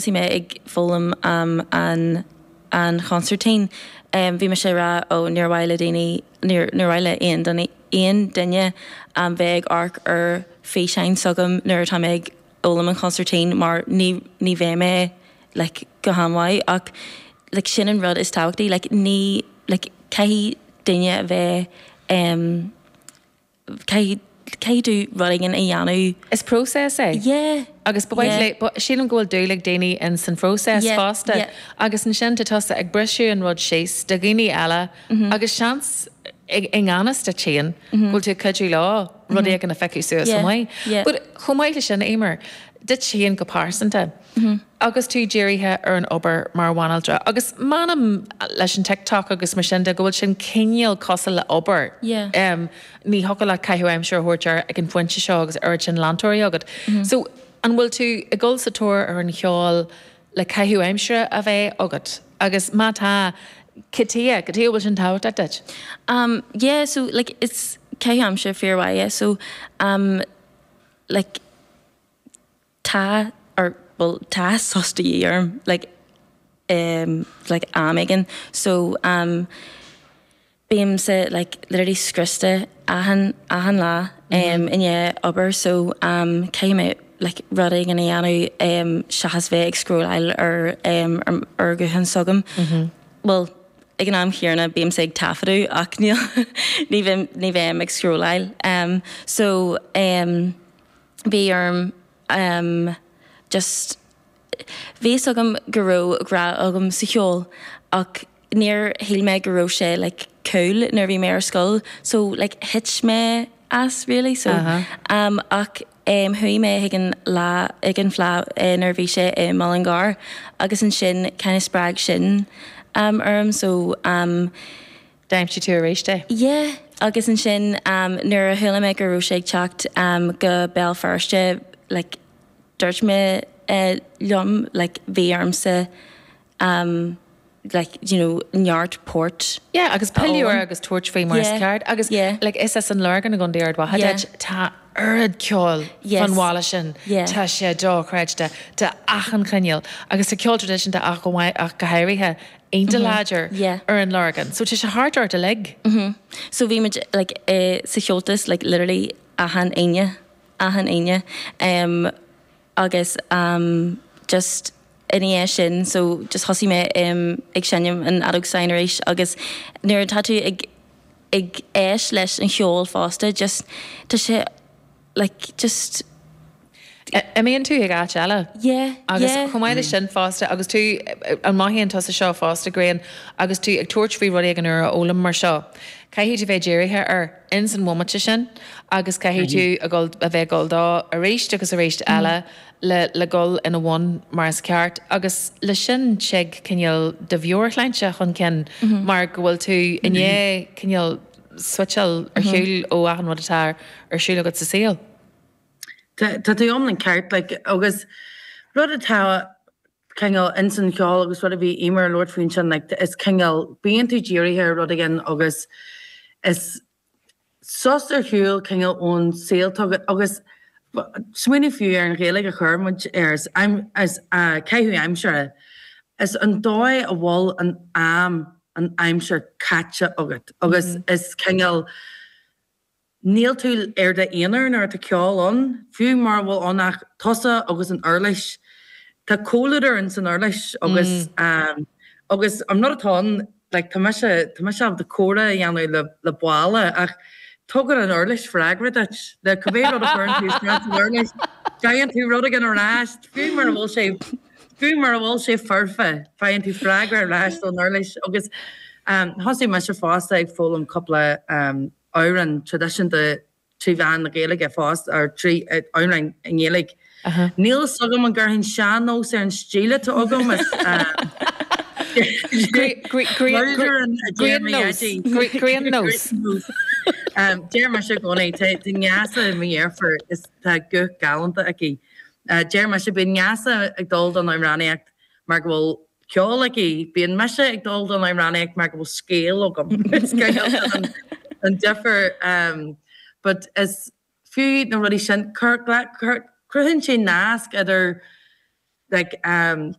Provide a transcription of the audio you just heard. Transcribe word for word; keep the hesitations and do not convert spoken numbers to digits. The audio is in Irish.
Thosaigh mé ag foghlaim um, an an chonsairtín um, bhí mise ag rá ó níor mhaith le daoine níor mhaith le aon duine aon duine um, bheith ag amharc ar físeáin s'agam nuair atá mé ag foghlaim an chonsairtín mar ní ní bheidh mé like, go han-mhaith ach like, sin an rud is tábhachtaí like, ní like, caithfidh duine a bheith um, caithfidh caithfidh tú rud éigin a dhéanamh. Is process é. Yeah. Agus ba yeah. sílim go bhfuil dúil ag daoine in san phróiseas Yeah, fosta. yeah. Agus ansin tá tusa ag briseadh an rud síos do dhaoine eile agus seans i ngan fhios duit féin bhfuil tú cuidiú leo rudaí éigin a phiocadh suas Yeah, maith. yeah. But chomh maith le sin Eimear, duit féin go pearsanta. Agus tú dírithe ar an obair mar bhanaltra. Agus measaim leis an TikTok agus mar sin de go bhfuil sin cineál cosúil le obair. Yeah. Um, ní thiocfadh leat caitheamh aimsire a thabhairt air ag an phointe seo agus ar sin leantóirí agat. So an bhfuil tú ag dul sa tóir ar an cheol le caitheamh aimsire a bheith agat. Agus má tá cad chuige cad chuige bhfuil sin tábhachtach duit. Um, yeah, so like it's caitheamh aimsire fíormhaith yeah, so um, like tá or well tá sos de dhíth orm like um, like am éigin so um, bímse like literally scriosta achan achan lá um, i ndiaidh obair so um, caithfidh mé like rud éigin a dhéanamh um, seachas bheith ag scrolláil ar um, ar, ar ghuthán s'agam. Well, ag an am chéanna bímse ag taifeadadh ach níl ní bheim ní bheim ag scrolláil. Um, so um, bhí orm um, just bhí fhios agam go raibh grá agam sa cheol ach níor shíl mé go raibh sé like cool nuair bhí mé ar scoil so like thit mé as really so Uh-huh. um, ach um, chuaigh mé ag an lá ag an Fleadh eh, nuair bhí sé i Mullingar agus ansin kind of spreag sin um, orm so um, D'aimsigh tú arís é. Yeah, agus ansin um, nuair a chuala mé go raibh sé ag teacht um, go Béal Feirste like, dúirt mé uh, liom like, bhí ormsa um, like, you know, neart port. Yeah, agus piliúir fhoghlaim. agus tabhairt faoi mar is Yeah, ceart agus yeah. like, is as an Lorgain i gContae Ard Mhacha Yeah. duit, tá oiread ceoil Yes. fan bhaile sin Yeah. tá sé dochreidte de achan chineál agus tá ceol traidisiúnta ach go mhaith- ach go háirithe iontach láidir Mm-hmm. Yeah. ar an Lorgain. So tá sé thart ort uilig. So bhí muid like, uh, sa Cheoltas like, literally achan Aoine achan Aoine um, agus um, just ina dhiaidh sin so just thosaigh mé um, ag seinm an fheadóg stáin arís agus nuair atá tú ag ag éisteacht leis an cheol fosta just tá sé like just Imíonn tú ag áit eile. yeah Agus yeah. chomh maith leis sin fosta agus tú an mothaíonn tusa seo fosta Gráinne agus tú ag tabhairt faoi rud éigin úr a fhoghlaim mar seo. Caithfidh tú bheith dírithe ar ins an bhomaite sin agus caithfidh tú a gul a bheith gul dó arís agus arís eile le le gul ina bhun mar is ceart agus le sin tig cineál de mheabhairshláinte chun cinn mar go bhfuil tú i ndiaidh cineál switcháil ar shiúl ó achan rud atá ar siúl agat sa saol. Tá tá tú iomlán ceart like, agus rud atá cineál ins an cheol agus rud a bhí Eimear ag labhairt faoin sin like, is cineál bíonn tú dírithe ar rud éigin agus is sos ar shiúl cineál ón saol agat agus smaoineamh fiú ar an Ghaeilge a chuir muid ar is aim- is uh, caitheamh aimsire is an dóigh a bhfuil an am an aimsir caite agat agus is cineál Níl tú ar d'aonar nuair atá ceol ann, fiú mar bhfuil ann ach tusa agus an uirlis. Tá comhluadar in san uirlis agus um, agus an rud atá ann, like, tá mise tá mise ábalta comhrá a dhéanamh le le balla ach tugann an uirlis freagra duit le cibé rud a chuireann tú isteach san uirlis. Faigheann tú rud éigin ar ais, fiú mar a bhfuil sé fiú mar a bhfuil sé foirfe, faigheann tú freagra ar ais ón uirlis agus um, thosaigh mise fosta ag foghlaim cúpla um, amhrán traidisiúnta trí mheán na Gaeilge fosta ar trí amhráin i nGaeilge. Níl fhios agam an gcuirfinn sean-nós ar an stíl atá agam is Grian-nós. Deir mise i gcónaí tá neasa mo dheirfiúr is tá guth galánta aici. Deir mise bíonn Neasa ag dul don amhránaíocht mar go bhfuil ceol aici, bíonn mise ag dul don amhránaíocht mar go bhfuil scéal agam. Is cineál an difear um, but is fiú na rudaí sin cruthaíonn sé nasc idir Like um,